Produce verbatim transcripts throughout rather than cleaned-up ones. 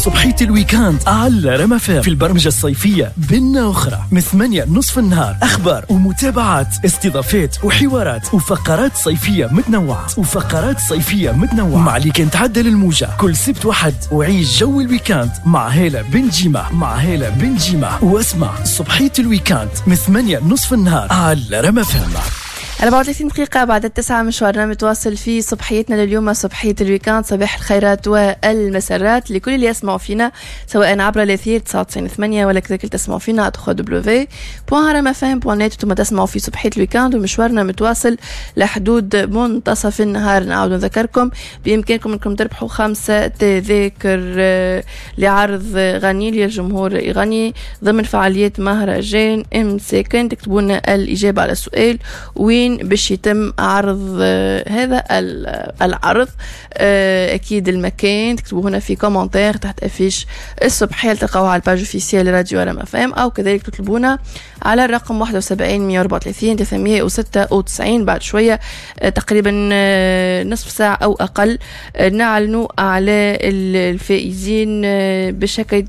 صبحية ال week-end على رما في البرمجة الصيفية بنا أخرى من ثمانية نصف النهار، أخبار ومتابعات، استضافات وحوارات وفقرات صيفية متنوعة وفقرات صيفية متنوعة مع اللي كان تعدل الموجة كل سبت وحد، وعيش جو ال week-end مع هالة بن جيمة مع هالة بن جيمة واسمع صبحية ال week-end من ثمانية نصف النهار على رما فهم. أربعة وثلاثين دقيقة بعد التسعة، مشوارنا متواصل في صبحيتنا لليوم، صبحية ال week-end. صباح الخيرات والمسرات لكل اللي يسمعوا فينا سواء عبر الأثير تسعة وتسعين ثمانية ولا كذلك تسمعوا فينا على دبليو دبليو دبليو دوت رما دوت نت. ثم تسمعوا في صبحية ال week-end ومشوارنا متواصل لحدود منتصف النهار. نعاود نذكركم بإمكانكم أنكم تربحوا خمسة تذاكر لعرض غني للجمهور يغني ضمن فعاليات مهرجان إمساكن. تكتبوا لنا الإجابة على السؤال وين باش يتم عرض هذا العرض، اكيد المكان تكتبوه هنا في commentaire تحت affiche الصبحية تلقاوها على ال page officielle راديو رما فام، او كذلك تطلبونا على الرقم واحد وسبعين مية وأربعة وثلاثين ثلاثمية وستة وتسعين. بعد شوية تقريبا نصف ساعة او اقل نعلنوا على الفائزين باش هكا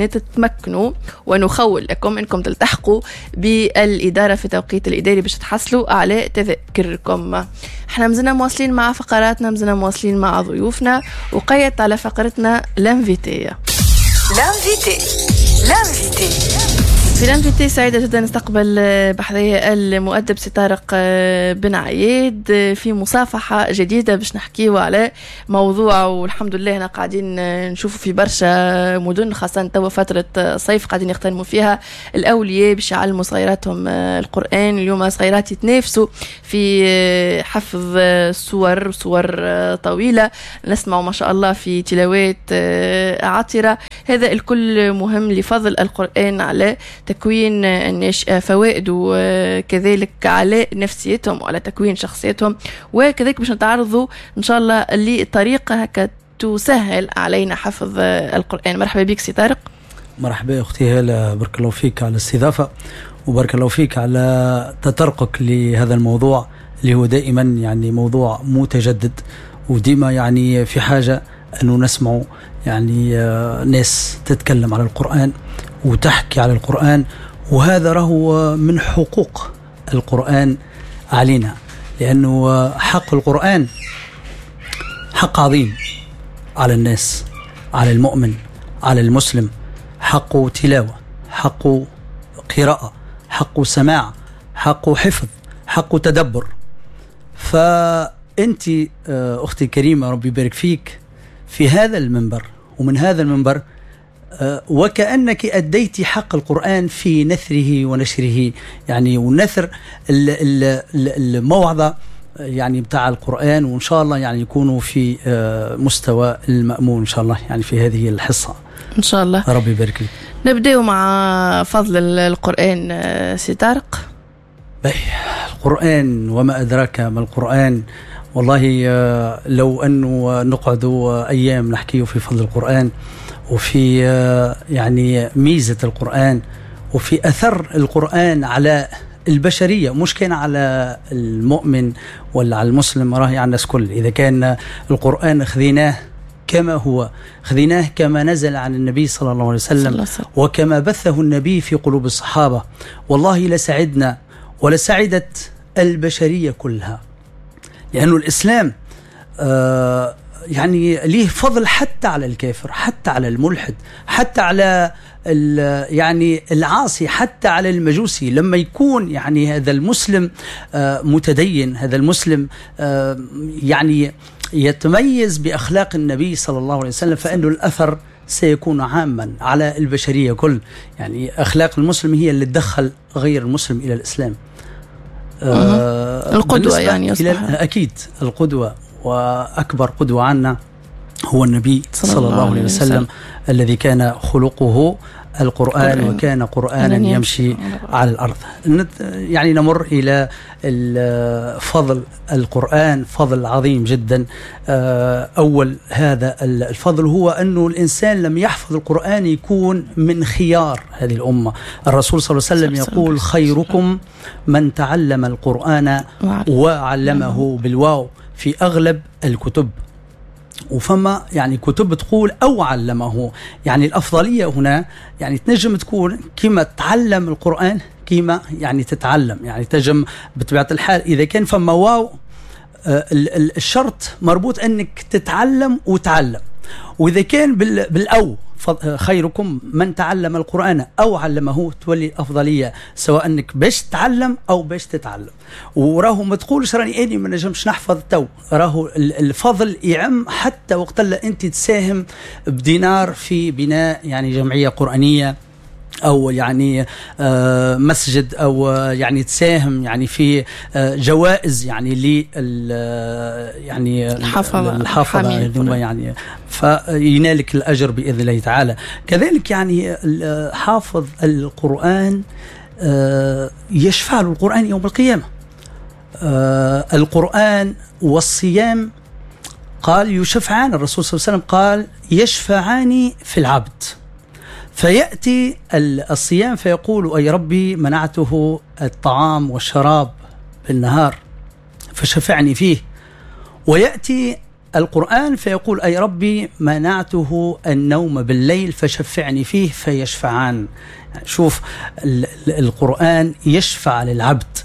تتمكنوا ونخول لكم انكم تلتحقوا بالادارة في التوقيت الاداري باش تحصلوا على تذاكركم. احنا مازلنا مواصلين مع فقراتنا، مازلنا مواصلين مع ضيوفنا، وقيت على فقرتنا l'invité. l'invité l'invité في l'invité سعيدة جدا نستقبل بحذايا المؤدب سي طارق بن عياد في مصافحة جديدة باش نحكيو على موضوع، والحمد لله احنا قاعدين نشوفوا في برشا مدن خاصة توا فترة صيف قاعدين يغتنموا فيها الأولياء باش يعلموا صغيراتهم القرآن. اليوم صغيرات يتنافسوا في حفظ سور صور طويلة، نسمع ما شاء الله في تلاوات عطرة. هذا الكل مهم لفضل القرآن على تكوين الناشئة، فوائده كذلك على نفسيتهم وعلى تكوين شخصيتهم، وكذلك باش نتعرضوا إن شاء الله لطريقة هكا تسهل علينا حفظ القرآن. مرحبا بك سي طارق. مرحبا أختي هالة، بارك الله فيك على الاستضافة وبارك الله فيك على تطرقك لهذا الموضوع اللي هو دائما يعني موضوع متجدد، وديما يعني في حاجة أنه نسمع يعني ناس تتكلم على القرآن وتحكي على القرآن، وهذا راهو من حقوق القرآن علينا، لأنه حق القرآن حق عظيم على الناس، على المؤمن، على المسلم. حق تلاوة، حق قراءة، حق سماع، حق حفظ، حق تدبر. فأنت أختي الكريمة ربي يبارك فيك في هذا المنبر ومن هذا المنبر وكأنك أديت حق القرآن في نثره ونشره، يعني ونثر الموعظة يعني بتاع القرآن، وإن شاء الله يعني يكونوا في مستوى المأمون إن شاء الله يعني في هذه الحصة إن شاء الله. ربي يبارك لك. نبدأ مع فضل القرآن سي طارق. القرآن وما أدراك ما القرآن. والله لو أنه نقعد أيام نحكيه في فضل القرآن وفي يعني ميزة القرآن وفي أثر القرآن على البشرية، مش كان على المؤمن ولا على المسلم، راهي على الناس كل. إذا كان القرآن خذيناه كما هو، خذيناه كما نزل عن النبي صلى الله عليه وسلم وكما بثه النبي في قلوب الصحابة، والله لسعدنا ولسعدت البشرية كلها. لأنه الإسلام آه يعني ليه فضل حتى على الكافر، حتى على الملحد، حتى على يعني العاصي، حتى على المجوسي. لما يكون يعني هذا المسلم آه متدين، هذا المسلم آه يعني يتميز بأخلاق النبي صلى الله عليه وسلم، فإنه الأثر سيكون عاما على البشرية كل. يعني أخلاق المسلم هي اللي تدخل غير المسلم إلى الإسلام. آه القدوة يعني إلى أكيد القدوة، وأكبر قدوة عنا هو النبي صلى, صلى الله عليه وسلم, وسلم الذي كان خلقه القرآن وكان قرآنا يمشي على الأرض. يعني نمر إلى فضل القرآن، فضل عظيم جدا. أول هذا الفضل هو أنه الإنسان لم يحفظ القرآن يكون من خيار هذه الأمة. الرسول صلى الله عليه وسلم يقول خيركم من تعلم القرآن وعلمه بالواو في أغلب الكتب. وفما يعني كتب تقول أو علمه. يعني الأفضلية هنا يعني تنجم تكون كما تعلم القرآن كما يعني تتعلم، يعني تنجم بطبيعة الحال إذا كان فما واو الشرط مربوط أنك تتعلم وتعلم، وإذا كان بالأو خيركم من تعلم القرآن أو علمه تولي الأفضلية سواء أنك باش تعلم أو باش تتعلم. وراهو ما تقولش راني أني ما نجمش نحفظ تو، راهو الفضل يعم حتى وقت اللي أنت تساهم بدينار في بناء يعني جمعية قرآنية أو يعني مسجد، أو يعني تساهم يعني في جوائز يعني ل يعني الحفظة الحفظة يعني فينالك الأجر بإذن الله تعالى. كذلك يعني حافظ القرآن يشفع له القرآن يوم القيامة. القرآن والصيام قال يشفعان، الرسول صلى الله عليه وسلم قال يشفعان في العبد. فيأتي الصيام فيقول أي ربي منعته الطعام والشراب بالنهار فشفعني فيه. ويأتي القرآن فيقول أي ربي منعته النوم بالليل فشفعني فيه، فيشفعان. شوف القرآن يشفع للعبد،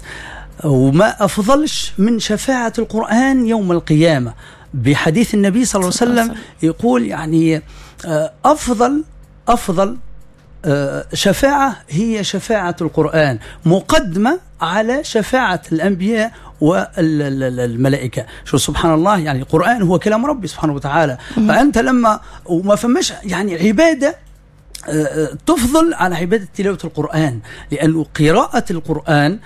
وما أفضلش من شفاعة القرآن يوم القيامة. بحديث النبي صلى الله عليه وسلم يقول يعني أفضل أفضل شفاعة هي شفاعة القرآن، مقدمة على شفاعة الأنبياء والملائكة. شو سبحان الله، يعني القرآن هو كلام ربي سبحانه وتعالى. فأنت لما وما فماش يعني عبادة تفضل على عبادة تلاوة القرآن، لأنه قراءة القرآن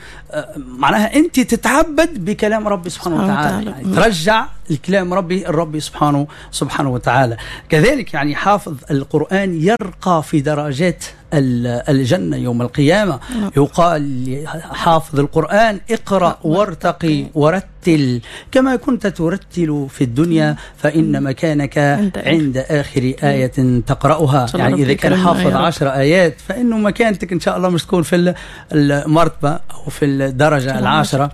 معناها أنت تتعبد بكلام ربي سبحانه وتعالى، يعني ترجع الكلام ربي الربي سبحانه سبحانه وتعالى. كذلك يعني حافظ القرآن يرقى في درجات الجنة يوم القيامة. يقال حافظ القرآن اقرأ وارتقي ورتل كما كنت ترتل في الدنيا فإن مكانك عند آخر آية تقرأها. يعني إذا كان حافظ عشر آيات فإنه مكانتك إن شاء الله مش تكون في المرتبة أو في الدرجة العاشرة.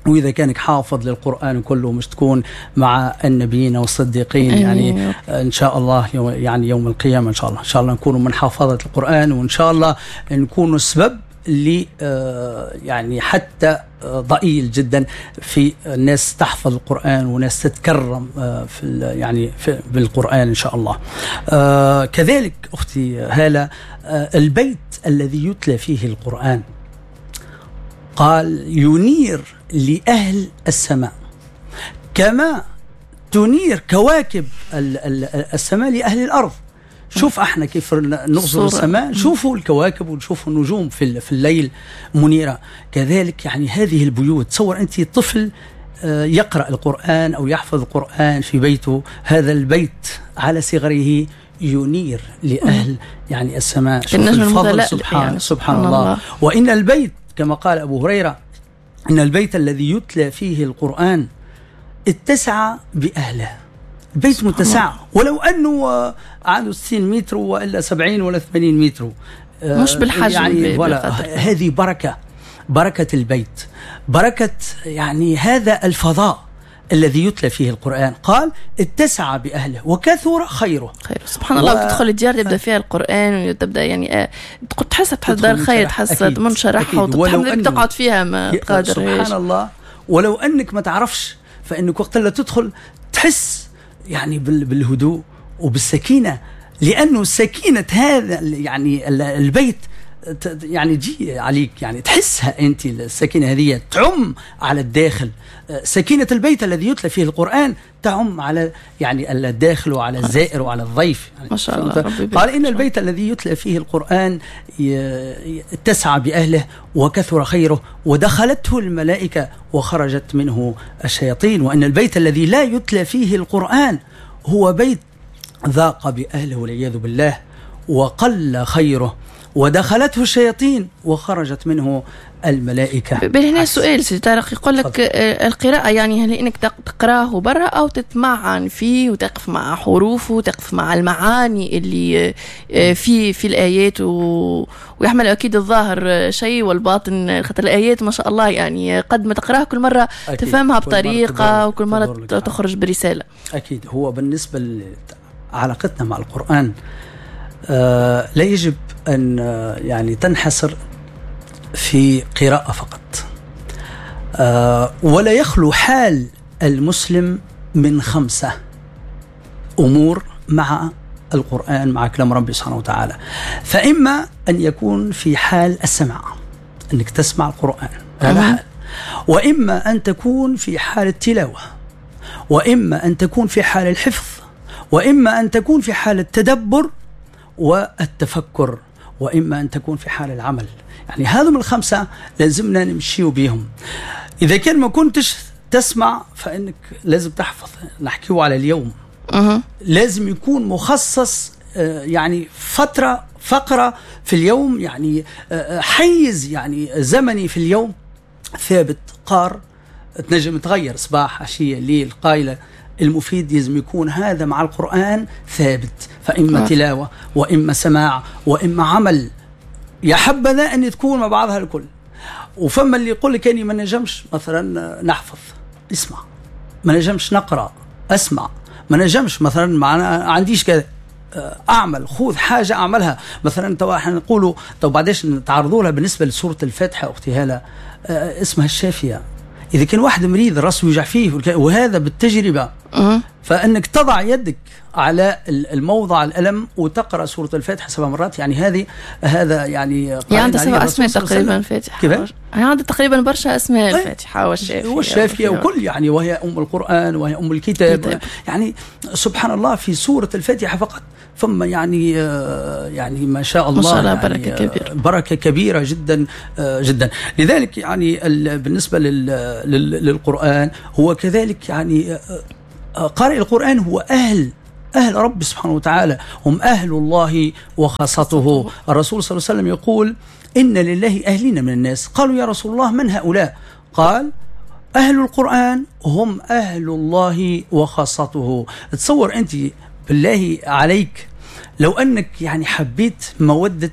وإذا كانك حافظ للقرآن كله مش تكون مع النبيين والصديقين يعني إن شاء الله يعني يوم القيامة إن شاء الله. إن شاء الله نكون من حافظة القرآن، وإن شاء الله نكون سبب اللي يعني حتى ضئيل جدا في الناس تحفظ القرآن وناس تتكرم في يعني في بالقرآن إن شاء الله. كذلك أختي هالة، البيت الذي يتلى فيه القرآن قال ينير لأهل السماء كما تنير كواكب السماء لأهل الأرض. شوف احنا كيف نغزر السماء، شوفوا الكواكب ونشوفوا النجوم في في الليل منيرة. كذلك يعني هذه البيوت، تصور أنت طفل يقرأ القرآن أو يحفظ القرآن في بيته، هذا البيت على صغره ينير لأهل يعني السماء. شوف الفضل سبحان, يعني سبحان الله. الله. وإن البيت كما قال أبو هريرة إن البيت الذي يتلى فيه القرآن اتسع بأهله. البيت متسع ولو أنه عنده ستين متر وإلا سبعين ولا ثمانين متر، مش بالحجم يعني ولا. هذه بركة، بركة البيت، بركة يعني هذا الفضاء الذي يتلى فيه القرآن. قال اتسع بأهله وكثر خيره. خير سبحان الله. و... وتدخل الديار تبدأ فيها القرآن وتبدأ يعني تحس تحضر خير، تحس منشرحة وتحب تقعد فيها ما قادر. سبحان الله. ولو أنك ما تعرفش فإنك وقت اللي تدخل تحس يعني بالهدوء وبالسكينة، لأنه سكينة هذا يعني البيت يعني تجي عليك، يعني تحسها أنت السكينة هذه تعم على الداخل. سكينة البيت الذي يتلى فيه القرآن تعم على يعني الداخل وعلى الزائر وعلى الضيف يعني. ما شاء الله. قال إن البيت الذي يتلى فيه القرآن اتسع بأهله وكثر خيره ودخلته الملائكة وخرجت منه الشياطين. وإن البيت الذي لا يتلى فيه القرآن هو بيت ذاق بأهله والعياذ بالله وقل خيره ودخلته الشياطين وخرجت منه الملائكة. بل هنا سؤال سيدي طارق، يقول لك القراءة يعني هل انك تقراه برا او تتمعن فيه وتقف مع حروفه وتقف مع المعاني اللي في في الايات و... ويحمل اكيد الظاهر شيء والباطن، خاطر الايات ما شاء الله يعني قد ما تقراها كل مرة تفهمها بطريقة وكل مرة تخرج برسالة. اكيد. هو بالنسبة لعلاقتنا مع القرآن آه لا يجب أن يعني تنحصر في قراءة فقط، آه ولا يخلو حال المسلم من خمسة أمور مع القرآن، مع كلام ربي سبحانه وتعالى. فإما أن يكون في حال السمع، أنك تسمع القرآن، هذا حال، وإما أن تكون في حال التلاوة، وإما أن تكون في حال الحفظ، وإما أن تكون في حال التدبر والتفكر، وإما أن تكون في حال العمل. يعني هذم الخمسة لازمنا نمشيو بيهم. إذا كان ما كنتش تسمع فإنك لازم تحفظ. نحكيو على اليوم، أه. لازم يكون مخصص يعني فترة، فقرة في اليوم، يعني حيز يعني زمني في اليوم ثابت قار، تنجم تغير صباح عشية ليل قايلة. المفيد لازم يكون هذا مع القرآن ثابت، فإما تلاوة وإما سماع وإما عمل. يا حبذا أن تكون مع بعضها الكل. وفما اللي يقول لك أني ما نجمش مثلا نحفظ، اسمع، ما نجمش نقرأ، اسمع، ما نجمش مثلا ما عنديش كذا، أعمل، خذ حاجة أعملها. مثلا تو احنا نقولوا تو بعدش نتعرضوا لها بالنسبة لسورة الفاتحة أختي هالة، اسمها الشافية. إذا كان واحد مريض راسه يوجع فيه، وهذا بالتجربة، فإنك تضع يدك على الموضع الألم وتقرأ سورة الفاتحة سبع مرات، يعني هذه هذا يعني يعني عندها سبع أسماء تقريبا الفاتحة. كيف؟ يعني عندها تقريبا برشا أسماء الفاتحة والشافية والشافية وكل يعني، وهي أم القرآن وهي أم الكتاب. كتاب. يعني سبحان الله في سورة الفاتحة فقط ثم يعني يعني ما شاء الله، ما شاء الله، يعني بركة كبيرة، بركة كبيرة جدا جدا. لذلك يعني بالنسبة للقرآن هو كذلك يعني قارئ القرآن هو أهل أهل رب سبحانه وتعالى، هم أهل الله وخاصته. الرسول صلى الله عليه وسلم يقول إن لله أهلين من الناس. قالوا يا رسول الله من هؤلاء؟ قال أهل القرآن هم أهل الله وخاصته. تصور أنت بالله عليك لو أنك يعني حبيت مودة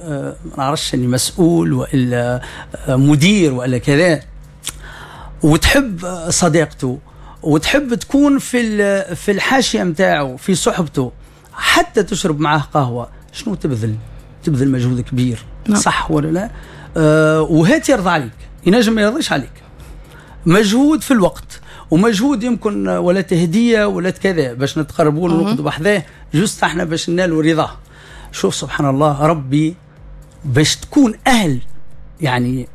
ما نعرفش أني مسؤول وإلا مدير وإلا كذا، وتحب صديقته وتحب تكون في في الحاشية متاعه في صحبته، حتى تشرب معاه قهوة، شنو تبذل؟ تبذل مجهود كبير. نعم. صح ولا لا؟ أه وهات يرضى عليك، ينجم ما يرضيش عليك، مجهود في الوقت ومجهود يمكن ولا تهدية ولا كذا باش نتقربوا له ونقعدوا بحذاه juste احنا باش ننالوا رضاه. شوف سبحان الله، ربي باش تكون أهل يعني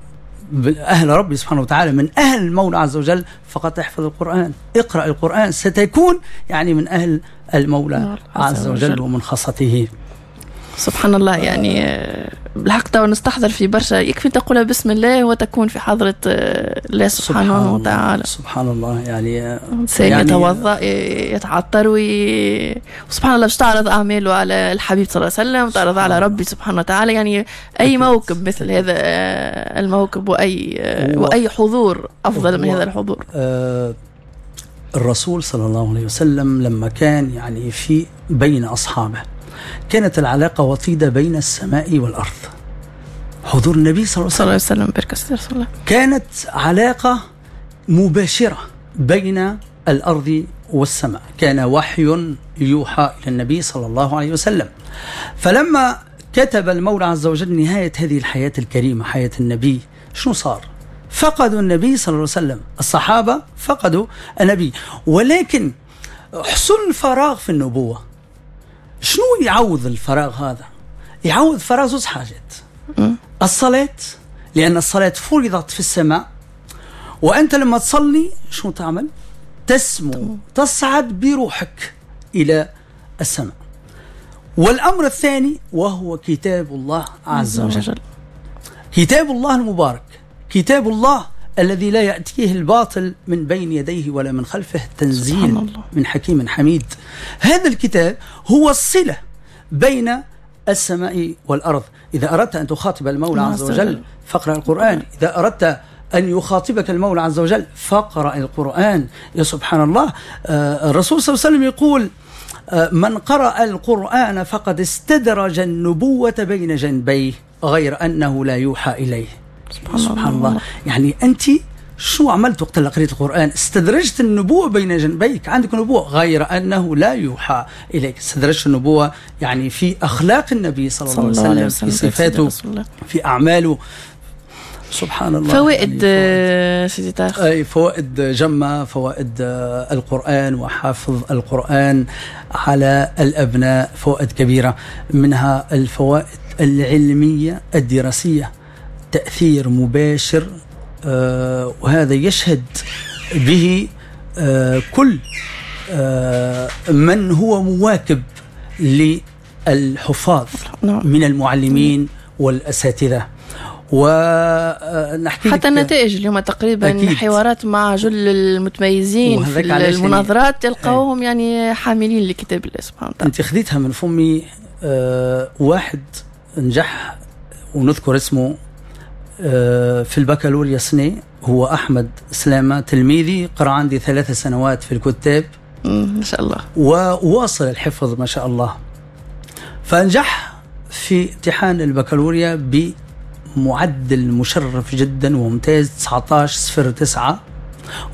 أهل ربي سبحانه وتعالى، من أهل المولى عز وجل، فقط احفظ القرآن، اقرأ القرآن، ستكون يعني من أهل المولى عز وجل ومن خاصته. سبحان الله. يعني بالحق تو نستحضر في برشا، يكفي تقول بسم الله وتكون في حضرة الله سبحانه سبحان وتعالى. سبحان الله. يعني إنسان يعني يتوضأ يتعطر وي... وسبحان الله باش تعرض أعماله على الحبيب صلى الله عليه وسلم، تعرض على ربي سبحانه وتعالى. يعني أي أكيد. موكب مثل هذا الموكب وأي وأي حضور أفضل من هذا الحضور. آه الرسول صلى الله عليه وسلم لما كان يعني في بين أصحابه كانت العلاقة وطيدة بين السماء والأرض. حضور النبي صلى الله عليه وسلم بركة الله كانت علاقة مباشرة بين الأرض والسماء، كان وحي يوحى إلى النبي صلى الله عليه وسلم. فلما كتب المولى عز وجل نهاية هذه الحياة الكريمة، حياة النبي، شنو صار؟ فقدوا النبي صلى الله عليه وسلم، الصحابة فقدوا النبي، ولكن حصل فراغ في النبوة. شنو يعوض الفراغ هذا؟ يعوض فراغ زوج حاجات. الصلاة، لأن الصلاة فرضت في السماء، وأنت لما تصلي شنو تعمل؟ تسمو، تصعد بروحك إلى السماء. والأمر الثاني وهو كتاب الله عز وجل، كتاب الله المبارك، كتاب الله الذي لا يأتيه الباطل من بين يديه ولا من خلفه، تنزيل من حكيم حميد. هذا الكتاب هو الصلة بين السماء والأرض. إذا أردت أن تخاطب المولى عز وجل فاقرأ القرآن، إذا أردت أن يخاطبك المولى عز وجل فاقرأ القرآن. يا سبحان الله، الرسول صلى الله عليه وسلم يقول من قرأ القرآن فقد استدرج النبوة بين جنبيه غير أنه لا يوحى إليه. سبحان, سبحان الله. الله. يعني أنت شو عملت وقت اللي قريت القرآن؟ استدرجت النبوة بين جنبيك، عندك نبوة غير أنه لا يوحى إليك. استدرجت النبوة يعني في أخلاق النبي صلى الله عليه وسلم، في صفاته، في أعماله. سبحان الله. فوائد يعني سيدي طارق، أي فوائد جمة، فوائد القرآن وحافظ القرآن على الأبناء فوائد كبيرة، منها الفوائد العلمية الدراسية، تأثير مباشر، آه وهذا يشهد به آه كل آه من هو مواكب للحفاظ من المعلمين والأساتذة. ونحكي حتى النتائج اليوم تقريبا أكيد. حوارات مع جل المتميزين في المناظرات تلقاوهم يعني حاملين لكتاب الله سبحانه وتعالى. انت خذيتها من فمي. آه واحد نجح ونذكر اسمه آه في البكالوريا سنة، هو أحمد سلامة، تلميذي، قرأ عندي ثلاث سنوات في الكتاب ما شاء الله، وواصل الحفظ ما شاء الله، فنجح في امتحان البكالوريا ب معدل مشرف جدا وممتاز تسعة عشر صفر تسعة.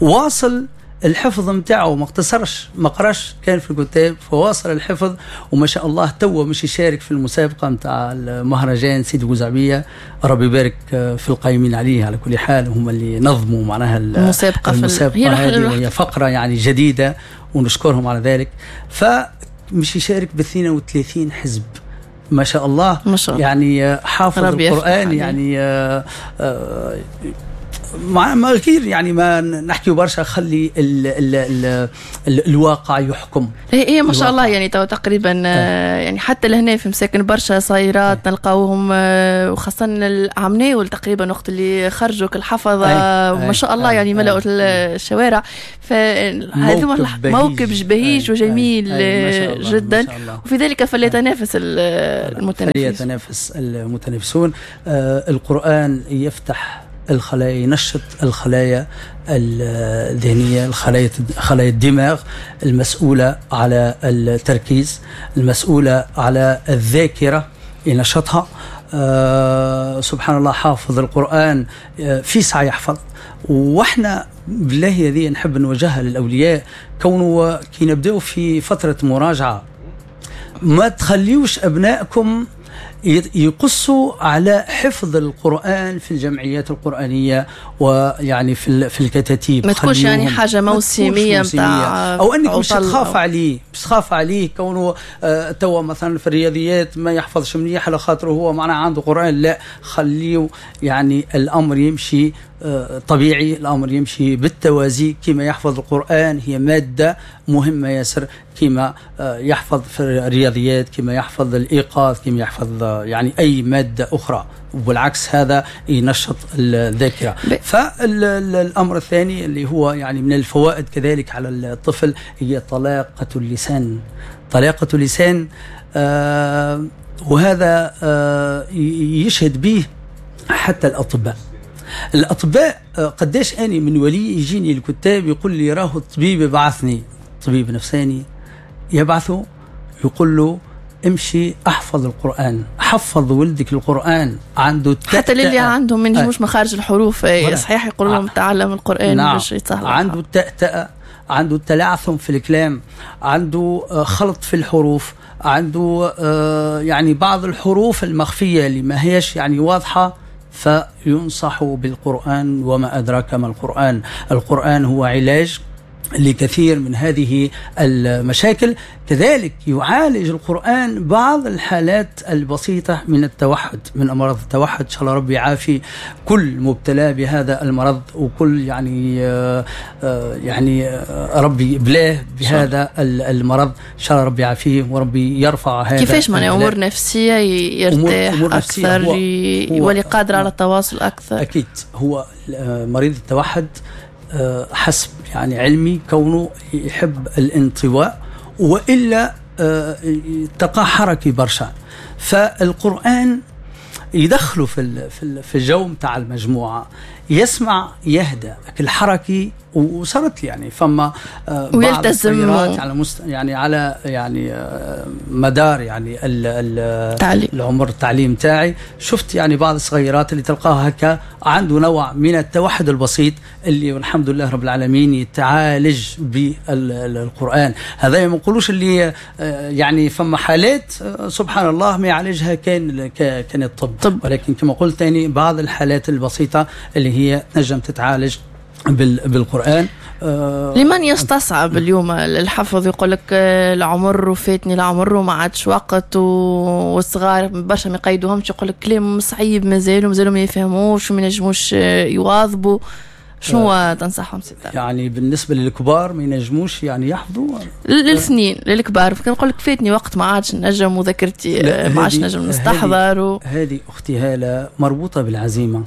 واصل الحفظ متاعه، ما اقتصرش، ما قراش، كان في الكتاب، فواصل الحفظ وما شاء الله توا مش يشارك في المسابقة متاع المهرجان سيدي بوزعبية. ربي يبارك في القائمين عليه على كل حال، هم اللي نظموا معناها المسابقة, المسابقة هذه، وهي فقرة يعني جديدة ونشكرهم على ذلك. فمش يشارك ب اثنين وثلاثين حزب ما شاء الله، ما شاء الله. يعني حافظ القرآن يعني آه آه مع ما غير يعني ما نحكي برشا، خلي ال ال ال ال الواقع يحكم. هي هي ما شاء الله يعني تو تقريبا آه. يعني حتى لهنا في مساكن برشا صايرات نلقاوهم، وخاصة العمناول تقريبا وقت اللي خرجوا الحفظة ما شاء الله يعني ملأوا الشوارع. فهذا موكب بهيج وجميل جدا، وفي ذلك فليتنافس المتنافسون، فليتنافس المتنافسون. آه القرآن يفتح الخلايا، ينشط الخلايا الذهنية، الخلايا خلايا الدماغ المسؤولة على التركيز، المسؤولة على الذاكرة، ينشطها. آه سبحان الله، حافظ القرآن آه في ساعة يحفظ. واحنا بالله هذه نحب نوجهها للأولياء، كونه كي نبدأ في فترة مراجعة ما تخليوش أبنائكم يقصوا على حفظ القرآن في الجمعيات القرآنية ويعني في في الكتاتيب. ما تكونش يعني حاجة موسمية متاع، أو أنك مش تخاف عليه، مش تخاف عليه كونه آه توا مثلا في الرياضيات ما يحفظش منيح على خاطره هو معناه عنده قرآن. لا، خليه يعني الأمر يمشي آه طبيعي، الأمر يمشي بالتوازي. كما يحفظ القرآن هي مادة مهمة ياسر، كما آه يحفظ في الرياضيات، كما يحفظ الإيقاظ، كما يحفظ يعني أي مادة أخرى، وبالعكس هذا ينشط الذاكرة. فالأمر الثاني اللي هو يعني من الفوائد كذلك على الطفل هي طلاقة اللسان. طلاقة اللسان آه وهذا آه يشهد به حتى الأطباء. الأطباء قداش أني من ولي يجيني الكتاب يقول لي راه الطبيب بعثني، طبيب نفساني يبعثه يقول له امشي احفظ القرآن، حفظ ولدك القرآن، عنده حتى اللي عندهم ما ينجموش مخارج الحروف صحيح يقول لهم تعلم القرآن. نعم. باش يتسهل. عنده التأتأة، عنده التلعثم في الكلام، عنده خلط في الحروف، عنده يعني بعض الحروف المخفية اللي ما هيش يعني واضحة، فينصح بالقرآن. وما أدراك ما القرآن؟ القرآن هو علاج لكثير من هذه المشاكل. كذلك يعالج القرآن بعض الحالات البسيطة من التوحد، من أمراض التوحد. إن شاء الله ربي يعافي كل مبتلى بهذا المرض، وكل يعني يعني ربي بلاه بهذا المرض، إن شاء الله ربي يعافيه وربي يرفع هذا. كيفاش معنى أمور نفسية يرتاح أمور نفسية أكثر، يولي قادر على التواصل أكثر؟ أكيد هو مريض التوحد حسب يعني علمي كونه يحب الانطواء، وإلا تقى حركي برشا. فالقرآن يدخلوا في في الجو متاع المجموعة، يسمع يهدى الحركي. وصارت يعني فما بعض التغييرات على مست... يعني على يعني مدار يعني ال... ال... العمر التعليم تاعي، شفت يعني بعض الصغيرات اللي تلقاها هكا عنده نوع من التوحد البسيط اللي والحمد لله رب العالمين يتعالج بالقرآن. هذا ما نقولوش اللي يعني فما حالات سبحان الله ما يعالجها كان كان الطب، طب. ولكن كما قلت ثاني بعض الحالات البسيطة اللي هي تنجم تتعالج بالقرآن. آه لمن يستصعب اليوم الحفظ، يقول لك العمر وفاتني العمر وما عادش وقت، والصغار برشا ما يقيدوهمش، يقول لك كلام صعيب مازالوا مازالوا ما يفهموش وما ينجموش يواظبوا. شنو آه تنصحهم ستة؟ يعني بالنسبة للكبار ما ينجموش يعني يحفظوا للسنين للكبار، كان لك فاتني وقت ما عادش نجم وذاكرتي ما عادش نجم نستحضر و... هذه أختي هالة مربوطة بالعزيمة،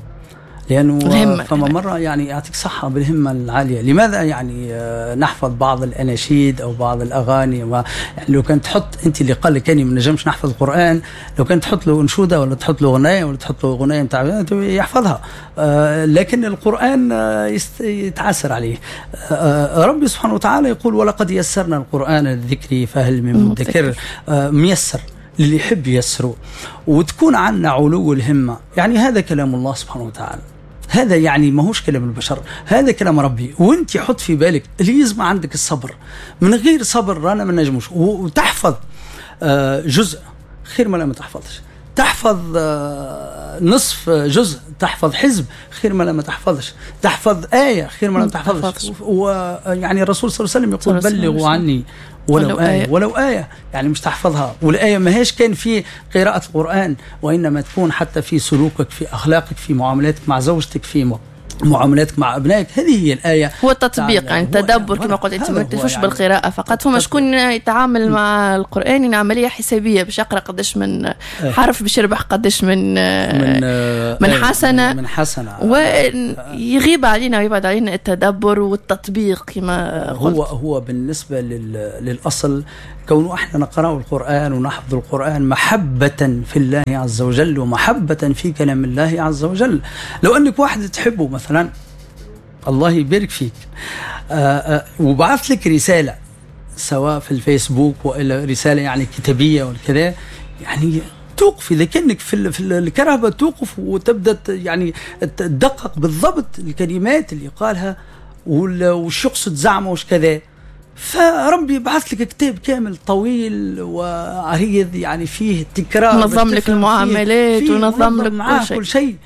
لأنه فما مرة يعني يعطيك صحة بالهمة العالية. لماذا يعني نحفظ بعض الأناشيد أو بعض الأغاني؟ و يعني لو كان تحط أنت اللي قال لك أني ما نجمش نحفظ القرآن، لو كان تحط له أنشودة ولا تحط له أغنية ولا تحط له أغنية متاع يحفظها، لكن القرآن يتعسر عليه. ربي سبحانه وتعالى يقول ولقد يسرنا القرآن للذكر فهل من مدكر. ميسر للي يحب يسره، وتكون عنا علو الهمة. يعني هذا كلام الله سبحانه وتعالى، هذا يعني ما هوش كلام البشر، هذا كلام ربي. وانت حط في بالك لازم عندك الصبر، من غير صبر رانا ما نجموش. وتحفظ جزء خير ما لا ما تحفظش، تحفظ نصف جزء، تحفظ حزب خير ما لا ما تحفظش، تحفظ آية خير ما لا تحفظش. ويعني الرسول صلى الله عليه وسلم يقول بلغوا عني ولو آية، ولو آية يعني مش تحفظها. والآية ما هيش كان في قراءة القرآن، وإنما تكون حتى في سلوكك، في أخلاقك، في معاملاتك مع زوجتك، في معاملاتك مع أبنائك. هذه هي الآية، هو التطبيق يعني التدبر كما قلت أنت، ما تكتفوش يعني بالقراءة فقط. فما شكون يتعامل مع القرآن إن عملية حسابية باش يقرأ قداش من حرف باش يربح قداش من من, من حسنة من حسنة، ويغيب علينا ويبعد علينا التدبر والتطبيق كما قلت. هو هو بالنسبة للأصل كونه احنا نقرأ القرآن ونحفظ القرآن محبة في الله عز وجل ومحبة في كلام الله عز وجل. لو أنك واحد تحبه مثلا، الله يبارك فيك، آآ آآ وبعث لك رسالة سواء في الفيسبوك وإلا رسالة يعني كتابية والكذا، يعني توقف إذا كأنك في في الكهرباء توقف وتبدأ يعني تدقق بالضبط الكلمات اللي قالها وش يقصد زعمه وش كذا. فربي بعث لك كتاب كامل طويل وعريض يعني فيه تكرار، نظم لك المعاملات ونظم لك كل شيء, كل شيء.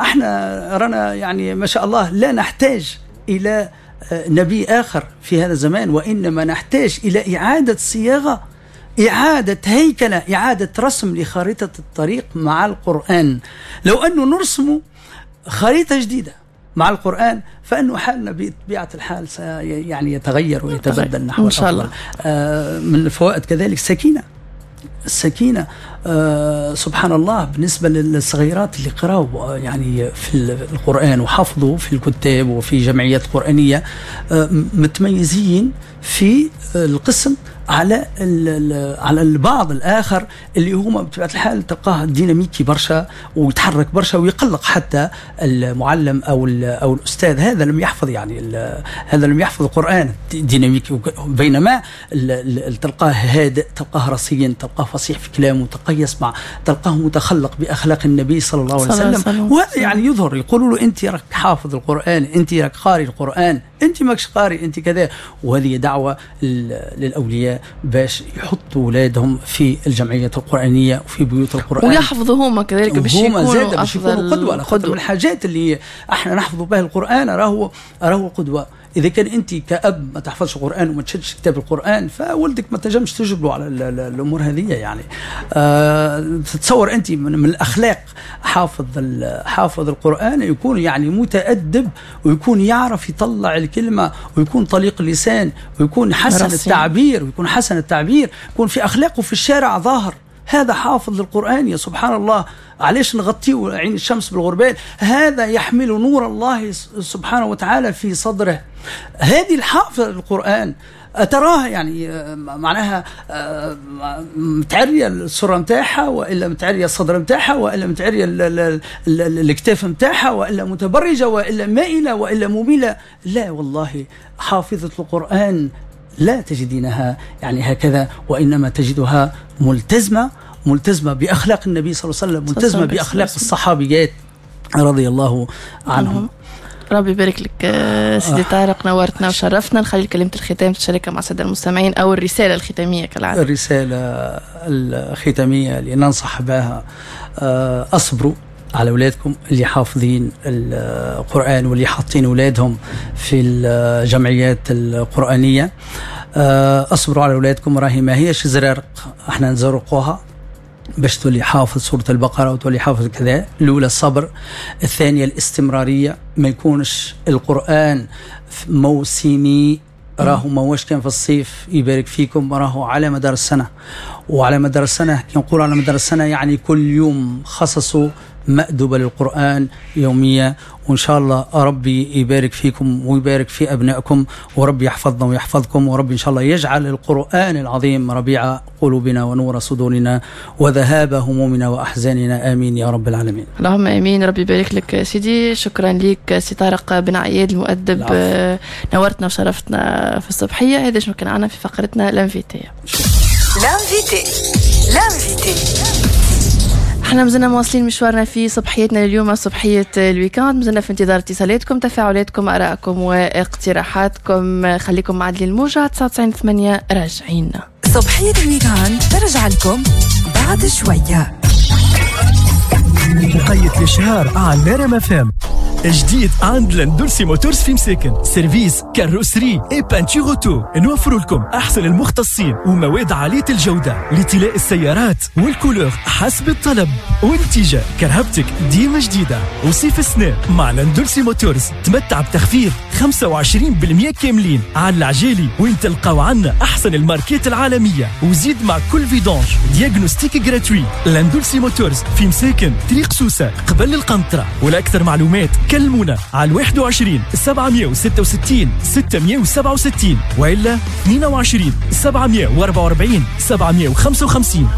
احنا رانا يعني ما شاء الله لا نحتاج الى نبي اخر في هذا الزمان، وانما نحتاج الى اعاده صياغة، اعاده هيكله، اعاده رسم لخريطه الطريق مع القران. لو انه نرسم خريطة جديدة مع القرآن فإنه حالنا بطبيعة الحال يعني يتغير ويتبدل نحو إن شاء الله. آه من الفوائد كذلك سكينة، السكينة آه سبحان الله بالنسبة للصغيرات اللي قرأوا يعني في القرآن وحفظوا في الكتاب وفي جمعيات قرآنية، آه متميزين في القسم على على البعض الآخر اللي هما بطبيعة الحال تلقاه ديناميكي برشا ويتحرك برشا ويقلق حتى المعلم أو أو الأستاذ. هذا لم يحفظ يعني هذا لم يحفظ القرآن ديناميكي، بينما تلقاه هادئ، تلقاه رصين، تلقاه فصيح في كلامه، تلقاه يسمع، تلقاه متخلق بأخلاق النبي صلى الله عليه وسلم. وهذا يعني يظهر، يقولوا له أنت راك حافظ القرآن، أنت راك قاري القرآن، أنت ماكش قاري، أنت كذا. وهذه دعوة للأولياء باش يحطوا أولادهم في الجمعية القرآنية وفي بيوت القرآن ويحفظوا هما كذلك باش يكونوا باش يكونوا قدوة. قدوة. من الحاجات اللي احنا نحفظوا بها القرآن راهو راهو قدوة. إذا كان أنت كأب ما تحفظش القرآن وما تشدش كتاب القرآن فولدك ما تنجمش تجبره على الأمور هذه يعني. أه تتصور أنت من, من الأخلاق حافظ حافظ القرآن يكون يعني متأدب ويكون يعرف يطلع الكلمة ويكون طليق اللسان ويكون حسن التعبير ويكون حسن التعبير يكون في أخلاقه في الشارع ظاهر. هذا حافظ القرآن يا سبحان الله، علاش نغطيه عين الشمس بالغربال؟ هذا يحمل نور الله سبحانه وتعالى في صدره. هذه الحافظ القرآن تراه يعني معناها متعريه السرة نتاعها، والا متعريه الصدر نتاعها، والا متعريه الكتاف نتاعها، والا متبرجة، والا مائلة، والا مميله؟ لا والله، حافظه القران لا تجدينها يعني هكذا، وانما تجدها ملتزمة، ملتزمة باخلاق النبي صلى الله عليه وسلم، ملتزمة باخلاق الصحابيات رضي الله عنهم. ربي يبارك لك سيدي طارق، نورتنا وشرفتنا. نخلي كلمة الختام تشاركها مع السادة المستمعين أو الرسالة الختامية كالعادة. الرسالة الختامية اللي ننصح بها، أصبروا على أولادكم اللي حافظين القرآن واللي حاطين أولادهم في الجمعيات القرآنية. أصبروا على أولادكم، راهي ما هيش زرارق احنا نزرقوها باش تولي حافظ سورة البقرة وتولي حافظ كذا. الأولى الصبر، الثانية الاستمرارية، ما يكونش القرآن موسمي، راهو ما واش كان في الصيف يبارك فيكم، راهو على مدار السنة. وعلى مدار السنة كي نقول على مدار السنة يعني كل يوم خصصوا مأدبة للقرآن يومية، وإن شاء الله ربي يبارك فيكم ويبارك في أبنائكم، وربي يحفظنا ويحفظكم، وربي إن شاء الله يجعل القرآن العظيم ربيع قلوبنا ونور صدورنا وذهاب همومنا وأحزاننا، آمين يا رب العالمين. اللهم آمين. ربي يبارك لك سيدي. شكرا لك سي طارق بن عياد المؤدب، نورتنا وشرفتنا في الصبحية. هذا شنو كان عنا في فقرتنا l'invité. l'invité l'invité احنا مازلنا مواصلين مشوارنا في صبحيتنا اليوم، صبحية ال week-end. مازلنا في انتظار اتصالاتكم، تفاعلاتكم، ارائكم واقتراحاتكم. خليكم مع عدلي الموجة تسعة وتسعين ثمانية. راجعين صبحية ال week-end ترجع لكم بعد شوية. وقيت الاشهار على نرم فام جديد عند لاندولسي موتورز في مساكن، service carrosserie et peinture auto. نوفر لكم احسن المختصين ومواد عالية الجودة لطلاء السيارات وال couleur حسب الطلب، ونتيجة كرهبتك ديما جديدة. وصيف السنة مع لاندولسي موتورز تمتع بتخفيض خمسة وعشرين بالمئة كاملين على العجالي، وين تلقاو عنا احسن الماركات العالمية، وزيد مع كل vidange diagnostic gratuit. لاندولسي موتورز في مساكن، طريق سوسة قبل القنطرة. ولاكثر معلومات كلمونا على واحد وعشرين سبعمية وستة وستين ستمية وسبعة وستين وإلا اثنين وعشرين سبعمية وأربعة وأربعين سبعمية وخمسة وخمسين.